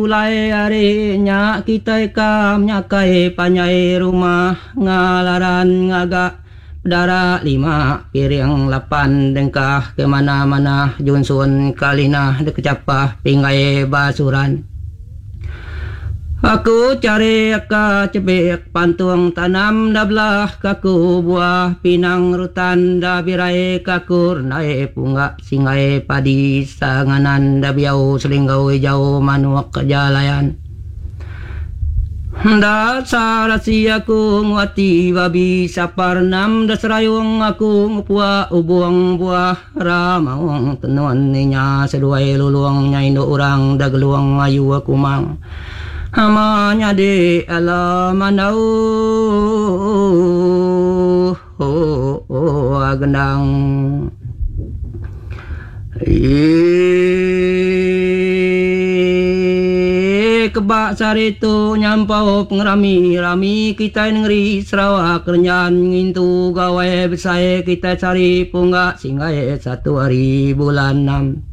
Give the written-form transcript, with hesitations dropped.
Pulai ari nya kitai ka nyakai panjai rumah ngalaran ngaga pedara lima piring lapan dengkah ke manah-manah junsun kalinah dikechapah pinggai basuran. Aku charik ka chebik pantung tanam da belah kaku buah pinang rutan da birai kaku rendai pungga Singgai padi sanganan da biau selinggau ijau manuk jalayan. Enda sarasi aku nguati babi sapar enam da serayung aku ngepua ubung buah ramaung tenun inya seduai lulung nya indu urang da gelung ayu aku mang. Ama nyadi ala mandau Gendang. Eii keba sehari tu nyampau pengerami rami kitai nengeri Sarawak renjan ngintu gawai besai kitai sehari pungga singgai satu hari bulan enam.